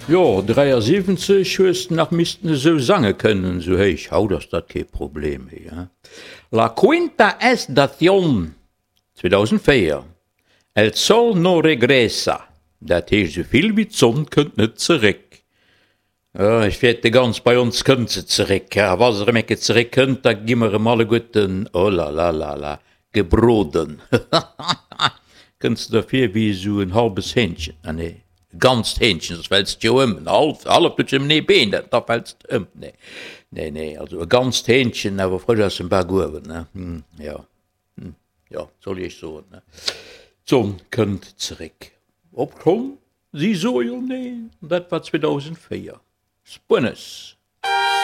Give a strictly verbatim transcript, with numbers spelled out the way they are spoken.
Jo, dräiasiwwenzeg hues de nach missten esou sange kënnen, esou héich. Haut ass dat kee Problem méi, hein. La quinta estación, zweedausendvéier, El sol no regresa, dat heescht esou vill wéi d'Sonn kënnt net zeréck. Jo, ech fäerte ganz, bei ons kënnt se zeréck. A wa se erëm eng Kéier zeréck kënnt, da gi mer erëm alleguerten, oh la la la la, gebroden. Kënns de der vir wéi esou en halbes Hähnchen, ah nee, e ganzt Hähnchen, soss fäls de jo ëm, en half, halleft huet jo nëmmen ee Been, da fäls de ëm. Nee, nee, nee, also e ganzt Hähnchen, awer frësch aus dem Bakuewen, ne, jo, jo, soll ech iech soen, ne, d'Sonn kënnt zeréck. Obschonn si soe jo neen, an dat war zweedausendvéier. Spuenes.